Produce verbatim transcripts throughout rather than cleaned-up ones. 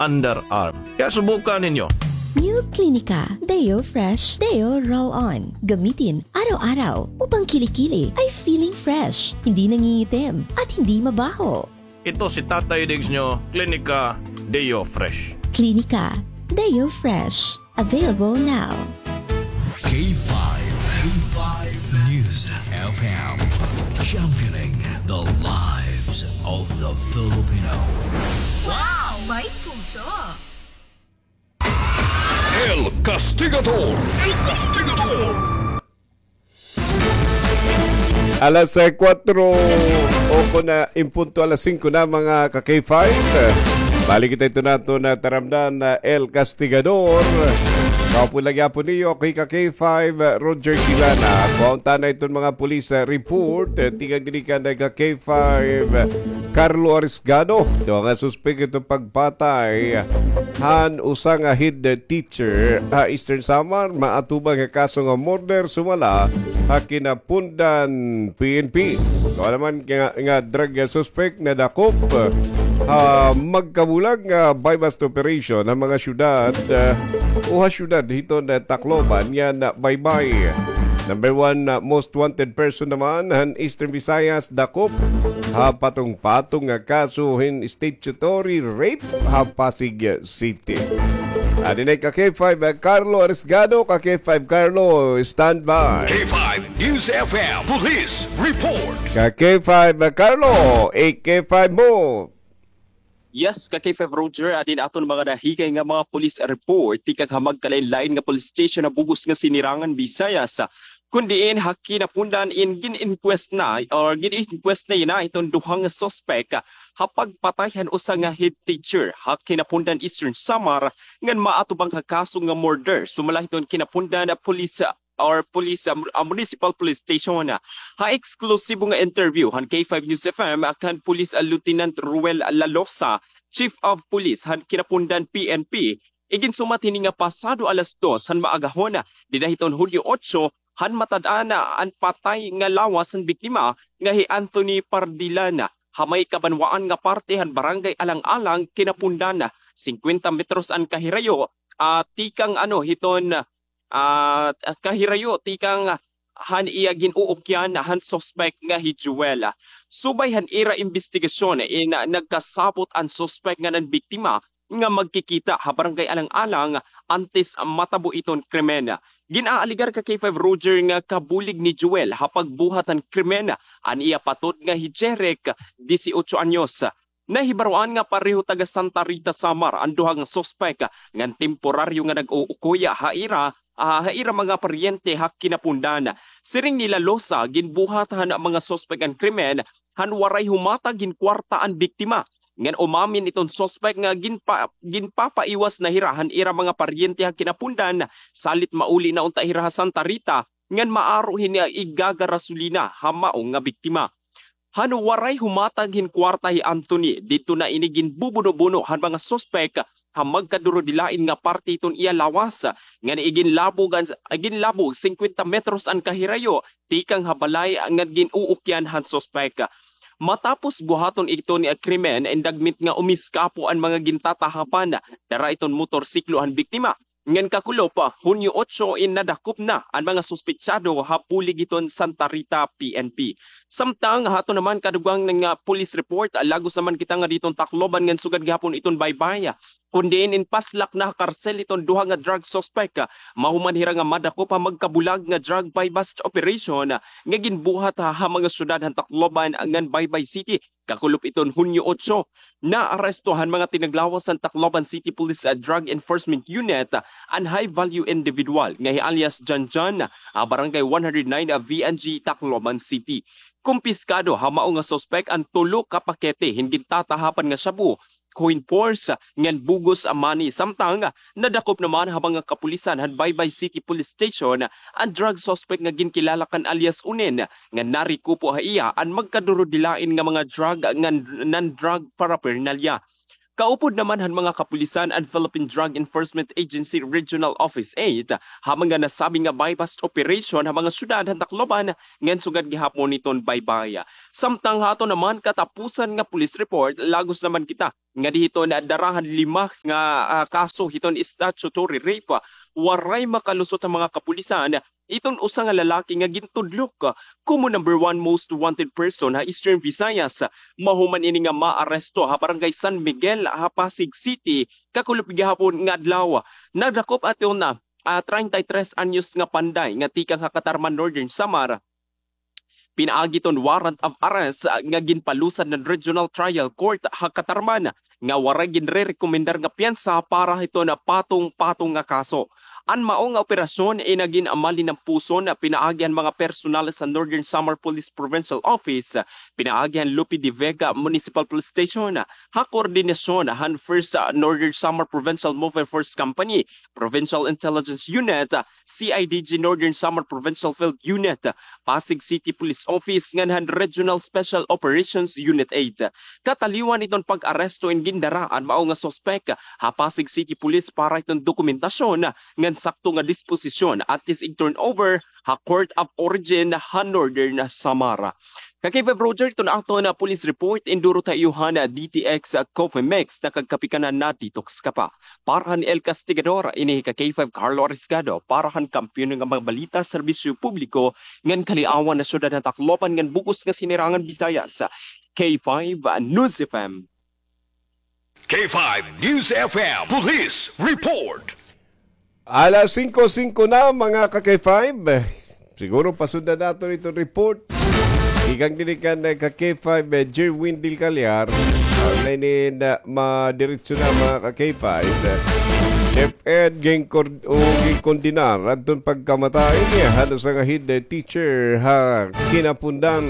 underarm. Kaya subukan ninyo. New Clinica Deo Fresh Deo Roll-On. Gamitin araw-araw upang kilikili ay feeling fresh, hindi nangingitim, at hindi mabaho. Ito si Tatay Diggs nyo, Clinica Deo Fresh. Clinica Deo Fresh. Available now. K five, K five News F M, championing the lives of the Filipino. Wow! May puso! El Castigador! El Castigador! Alas, eh, kuwatro o kon, ah, in punto alas singko na, mga ka-K five. Balik kita ito nato na taramdan na El Castigador. Kaupod la gihapon niyo, ako hi ka-K five, Roger Quilana. Kuhaon ta na iton mga police, ah, report. Eh, tikang ginikan na ka-K five, Carlo Arisgado. Ito nga suspek ito pagpatay han usa nga head teacher ha Eastern Samar, maatubang ha kaso nga murder sumala ha kinapundan P N P. Ito naman nga, nga drug suspect nadakop ha magkabulag nga buy-bust operation ha mga syudad, ah, o ha syudad hiton Tacloban ngan Baybay. Number one, ah, most wanted person naman han Eastern Visayas, dakop ha patong-patong nga kaso hin statutory rape ha Pasig City. Adi na ka-K five, ah, Carlo Arisgado, ka-K five Carlo, standby. K five News F M Police Report. Ka-K five, ah, Carlo, i-K five mo. Yes, ka-K five Roger, adin aton mga nahikay nga mga police report, tikang ha magkalain-lain nga police station ha bug-os nga Sinirangan, Visayas. Kun diin ha kinapundan in gin-inquest na, or gin-inquest na yana iton duha nga suspek ha pagpatay han usa nga head teacher ha kinapundan Eastern Samar ngan maatubang ha kaso nga murder. Sumala hiton kinapundan police, ah, or police, ah, ah, municipal police station. Ha eksklusibo nga interview han K five News F M, ah, kan Police, ah, Lieutenant Ruel Lalosa, Chief of Police han kinapundan P N P, iginsumat hini nga pasado alas dos han maagahon, dida hiton Hunyo otso, han matad-an an patay nga lawas han biktima nga hi Anthony Pardilan, ha may kabanwaan nga parte han Barangay Alang-alang, kinapundan, singkwenta metros an kahirayo, ah, tikang, ano, hiton, ah, kahirayo tikang han iya gin-uukyan han suspek nga hi Joel. Subay han ira imbestigasyon, in, nagkasabot an suspek ngan an biktima nga magkikita ha Barangay Alang-alang antes matabo iton krimen. Gin-aalegar ka-K five Roger nga kabulig ni Joel ha pagbuhat han krimen an iya patod nga hi Jeric, disiotso anyos. Nahibaroan nga pareho taga Santa Rita, Samar an duha nga suspek ngan temporaryo nga nag-uukoy ha ira, ah, ha ira mga paryente ha kinapundan. Siring ni Lalosa, ginbuhat han mga suspek an krimen han waray humatag hin kwarta an biktima. Ngan umamin iton suspek nga ginpa-, ginpapaiwas na hira han ira mga paryente ha kinapundan, salit mauli na unta hira ha Santa Rita, ngan maaro hini igagarasolina ha mao nga biktima. Han waray humatag hin kwarta hi Anthony, didto na ini ginbubuno-buno han mga suspek ha magkadurudilain nga parte hiton iya lawas, ngan iginlabog an, iginlabog singkwenta metros an kahirayo tikang ha balay ngan gin-uukyan han suspek. Matapos buhaton iton krimen, indagmit nga umiskapo an mga gintatahapan, dara iton motorsiklo han biktima. Ngan kakulop, Hunyo otso, in nadakop na an mga suspetsado ha bulig hiton Santa Rita P N P. Samtang ha aton naman kadugang nga police report, lagos naman kita nga diton Tacloban ngan sugad gihapon iton Baybay. Kun diin in paslak na ha karsel iton duha nga drug suspect, mahuman hira nga madakop ha magkabulag nga drug buy-bust operation nga ginbuhat ha, ha mga syudad han Tacloban ngan Baybay City. Kakulop iton Hunyo otso, naaresto han mga tinaglawas han Tacloban City Police, ah, Drug Enforcement Unit, ah, an high-value individual nga hi alias Janjan, ah, Barangay one hundred nine, ah, V N G, Tacloban City. Kumpiskado ha mao nga suspek an tulo ka pakete hin gintatahapan nga shabu, coin purse, ngan bug-os a money. Samtang nadakop naman ha mga kapulisan han Baybay City Police Station an drug suspect nga ginkilala kan alias Unin, nga narekupo ha iya an magkadurudilain nga mga drug ngan non-drug paraphernalia. Kaupod naman han mga kapulisan an Philippine Drug Enforcement Agency Regional Office eight ha mga nasabi nga buy-bust operation ha mga syudad han Tacloban ngan sugad gihapon hiton baybay. Samtang ha aton naman katapusan nga police report, lagos naman kita nga diri hiton dara han lima nga, ah, kaso hiton statutory rape, waray makalusot an mga kapulisan iton usa nga lalaki nga gintudlok komo number one most wanted person ha Eastern Visayas. Mahuman ini nga maaresto ha Barangay San Miguel ha Pasig City, kakulop gihapon nga adlaw. Nagdakop aton, ah, treinta y tres anyos nga panday nga tikang ha Catarman, Northern Samar, pinaagi hiton warrant of arrest, ah, nga ginpalusad han Regional Trial Court ha Catarman nga waray ginrerekomendar nga piyansa para hiton patong-patong nga kaso. An mao nga operasyon inagin malinampuson pinaagi han mga personal sa Northern Samar Police Provincial Office, pinaagi han Lope de Vega Municipal Police Station, ha koordinasyon han First, ah, Northern Samar Provincial Mobile Force Company, Provincial Intelligence Unit, C I D G Northern Samar Provincial Field Unit, Pasig City Police Office, ngan han Regional Special Operations Unit eight. Kataliwan hiton pag-aresto in gindara an mao nga suspek ha Pasig City Police para hiton dokumentasyon ngan sakto nga disposisyon antes ig-turnover ha Court of Origin ha Northern Samar. Ka K five Roger, iton aton police report, induro ta iyo han D T X Coffee Mix, nakagkape ka na, na-detox ka pa. Para han El Castigador, ini hi ka K five Carlo Arisgado, para han kampiyon nga mga balita, serbisyo publiko, ngan kaliawan ha syudad han Tacloban ngan bug-os nga Sinirangan Visayas, K five News F M. K five News F M Police Report. Alas singko singko na, mga ka K five. Siguro pasundan naton iton report. Tikang dinhi kan, eh, ka K five, eh, Jerwin Del Callar. Ang na ini na madiretso na, mga ka K five. DepEd ginkor-, o ginkondenar adton pagkamatay han usa nga head, eh, teacher ha Quinapondan.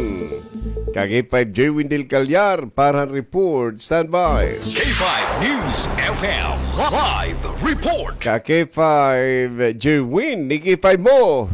Ka K five Jerwin Del Callar para han report. Standby. K five News F M live report. Ka K five Jerwin, ni K five mo.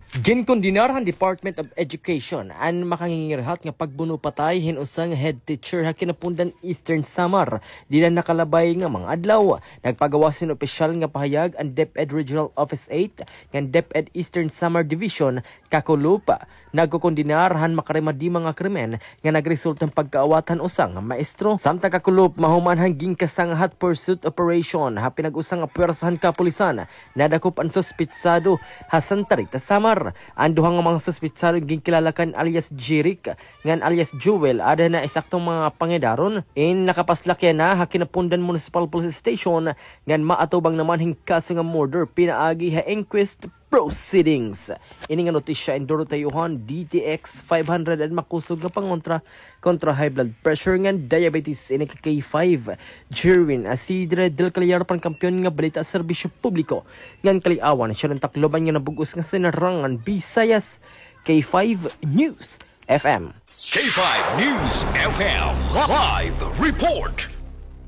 Ginkondenar han Department of Education an makangingirhat nga pagbuno-patay hin usa nga head teacher ha Quinapondan, Eastern Samar. Dinhi han nakalabay nga mga adlaw, nagpagawas hin opisyal nga pahayag an DepEd Regional Office eight ngan DepEd Eastern Samar Division, kakulop. Nagkokondenar han makarimadi mga krimen nga nagresulta han pagkaawat han usa nga maestro. Samtang kakulop, mahuman han ginkasangad nga hot pursuit operation ha pinag-usa nga puwersa han kapulisan, nadakop an suspetsado ha Santa Rita, Samar. An duha nga mga suspetsado ginkilala kan alias Jeric ngan alias Joel, ada na isakto nga mga pangidaron. In nakapaslak yana ha Quinapondan Municipal Police Station ngan maatubang naman hin kaso nga murder pinaagi ha inquest proceedings. Ini nga notisya induro ta iyo han D T X five hundred, an makusog nga pangontra kontra high blood pressure ngan diabetes. Ini ka K five Jerwin Isidre Del Callar para han kampiyon nga balita, serbisyo publiko, ngan kaliawan ha syudad han Tacloban ngan han bug-os nga Sinirangan Visayas, K five News F M. K five News F M live report.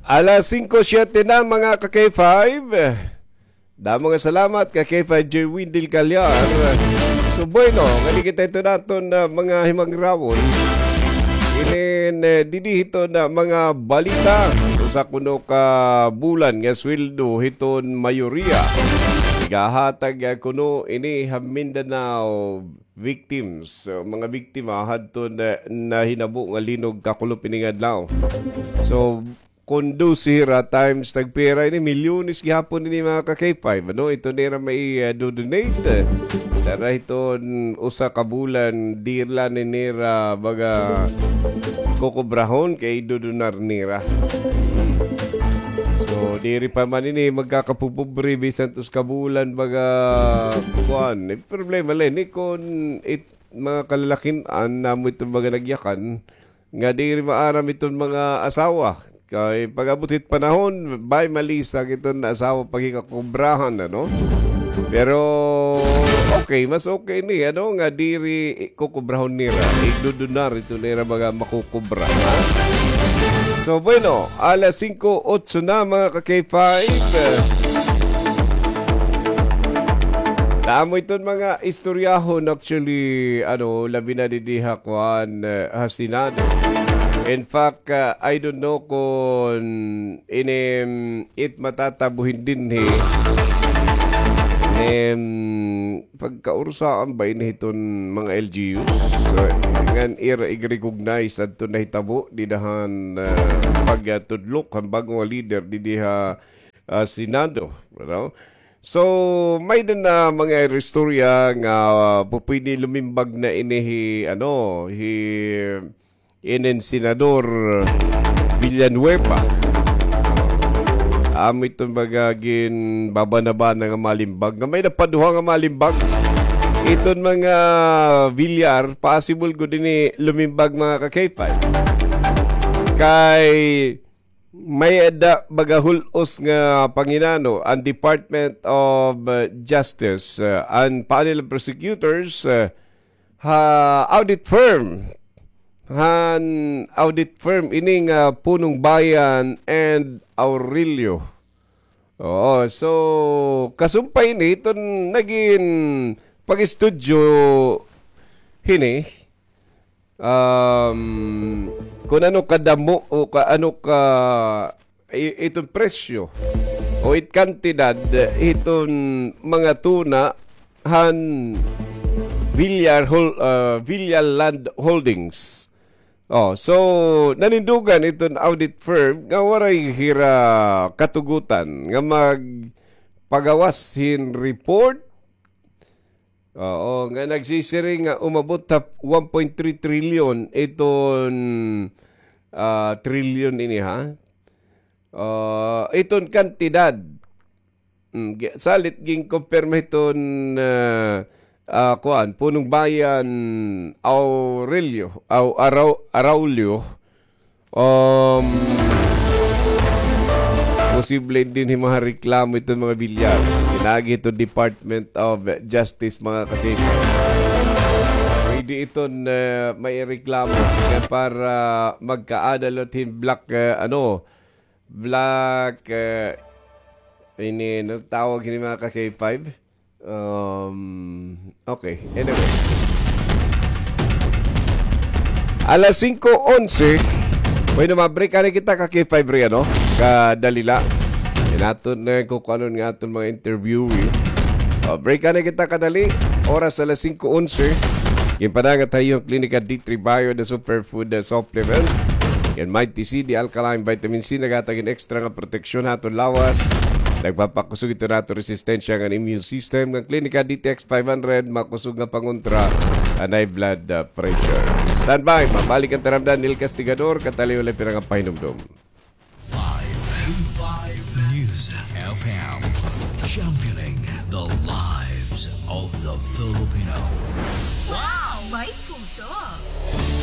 Alas singko siyete na, mga ka K five. Damo nga salamat ka K five Jerwin Del Callar. So, bueno, nganhi kita iton aton, ah, mga himangrawon. Inin, eh, dinhi hiton mga balita. Usa kuno ka bulan nga sweldo hiton mayoriya igahatag, ah, kuno ini ha Mindanao victims, so, mga biktima hadton, eh, nahinabo nga linog kakulop ini nga adlaw. So, kon dose hira times tagpira ini, milyones gihapon ini, mga ka K five, ano? Iton ira mai, eh, do-donate, eh. Dara hiton usa ka bulan, diri la ini nira, baga, kokobrahon kay idodonar nira. So, diri pa man ini magkakapopobre bisan usa ka bulan, baga, kuan. Eh, problema la ini kon it-, mga kalalakin-an namo iton mga nagyakan nga diri maaram iton mga asawa. Kay pag-abot hit panahon, bay malisag iton asawa paghikakobrahan, ano? Pero, okay, mas okay ni, ano, nga diri kokobrahon nira, idodonar iton ira mga makokobra, ha? So, bueno, alas singko otso na, mga ka K five. Damo iton mga istoryahon, actually, ano, labi na didi ha kuan, eh, ha Senado. In fact, ah, I don't know kon ini, mm, it matatabo hin dinhi. Em, pagkaurusahan ba ini hiton mga L G Us? Ah, ngan ira ig-recognize adto nahitabo dida han, ah, pagtudlok han bag-o nga leader didi ha, ah, Senado, you know? So, may-ada na mga istorya nga, ah, pupwede lumimbag na ini hi, ano, hi inin Senador Villanueva. Amo iton baga ginbabana-bana nga malimbag. Nga may-ada pa duha nga malimbag. Iton mga Villar, possible gud ini lumimbag, mga ka-K five. Kay may-ada baga hul-os nga panginano an Department of, uh, Justice, uh, an panel of prosecutors, uh, ha audit firm. Han audit firm ini nga Punong Bayan and Aurelio. Oo, so, kasumpay ini, iton nagin pag-estudyo hini, um, kun ano kadamo o ka, ano ka, i-, iton presyo o it kantidad iton mga tuna han Villar Hol-, ah, Villar Land Holdings. Oh, so, nanindugan iton audit firm nga waray hira katugutan nga magpagawas hin report. Oo, nga nagsisiring nga umabot ha one point three trillion iton, ah, trillion ini, ha? Ah, iton kantidad. Mm, gi-, salit ginkumpirma hiton, ah, ah, kuan, Punong Bayan Aurelio, Au-, Arau-, Araulio. Um, posible dinhi mareklamo iton mga Villar. Pinaagi hiton Department of Justice, mga ka-K five. Pwede iton, ah, maireklamo nga para magkaada liwat hin black, ah, ano, black, eh, ini, ano tawag ini, mga ka-K five? Um, okay, anyway. Alas singko onse. Bueno, ma-break anay kita ka-K five ri, ano? Kadali la. Yan aton na kukuanon nga aton mga interviewee. O, break anay kita kadali. Oras alas singko onse. Ginpadangat ha iyo an Klinika D three Bio, the superfood, the supplement. Ngan Mighty C, the alkaline vitamin C, naghatag hin extra nga proteksyon ha aton lawas. Nagpapakusog iton aton resistensya ngan immune system. Ngan Klinika D T X five hundred, makusog nga pangontra han high blood, uh, pressure. Standby, mabalik an taramdan, Neil Castigador, katali walay pira nga pahinumdom. Five, five News F M, championing the lives of the Filipino. Wow! May puso!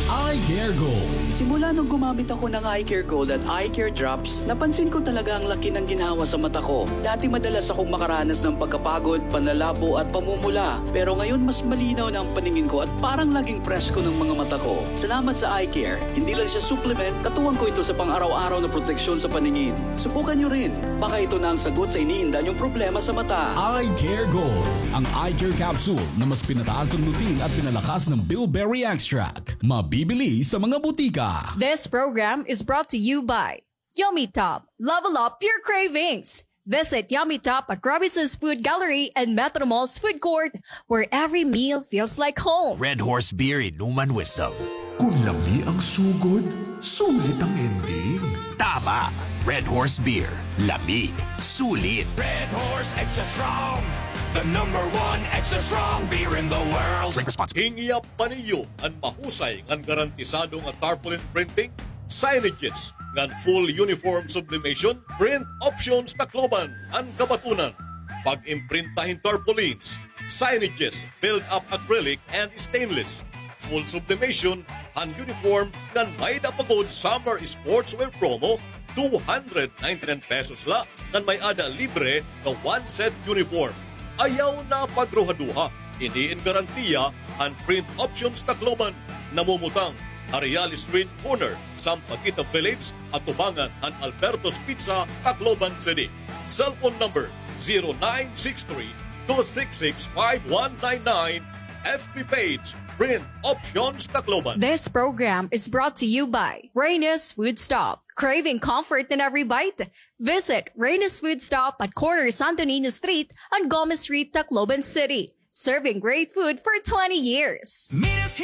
Eye Care Gold. Simula nung gumamit ako ng Eye Care Gold at Eye Care Drops, napansin ko talaga ang laki ng ginhawa sa mata ko. Dati madalas akong makaranas ng pagkapagod, panlalabo at pamumula. Pero ngayon mas malinaw na ang paningin ko at parang laging presko ng mga mata ko. Salamat sa Eye Care. Hindi lang siya supplement, katuwang ko ito sa pang-araw-araw na proteksyon sa paningin. Subukan niyo rin. Baka ito na ang sagot sa iniinda niyong problema sa mata. Eye Care Gold, ang eye care capsule na mas pinataas ang lutein at pinalakas ng bilberry extract. Mabibili sa mga butika. This program is brought to you by Yummy Top. Level up your cravings. Visit Yummy Top at Robinson's Food Gallery and Metro Mall's Food Court, where every meal feels like home. Red Horse Beer, Inuman Wisdom. Kun lami ang sugod, sulit ang ending. Tama! Red Horse Beer. Lami. Sulit. Red Horse Extra Strong. The number one extra strong beer in the world. Drink responsibly. Hingiya pa niyo an mahusay ngan garantisado nga tarpaulin printing, signages, ngan full uniform sublimation, Print Options Tacloban, an kabatunan. Pag-imprinta hin tarpaulins, signages, build-up acrylic and stainless, full sublimation, han uniform, ngan may-ada pa gud summer sportswear promo, two hundred ninety-nine pesos la, ngan may-ada libre nga one set uniform. Ayaw na pagruhaduha, ini in garantiya han Print Options Tacloban, namumutang ha Real Street, corner Sampaguita Village, atubangan han Alberto's Pizza, Tacloban City. Cellphone number zero nine six three, two six six, five one nine nine, F B page Sprint Options Tacloban. This program is brought to you by Reyna's Food Stop. Craving comfort in every bite? Visit Reyna's Food Stop at corner Santo Niño Street and Gomez Street, Tacloban City. Serving great food for twenty years. Minas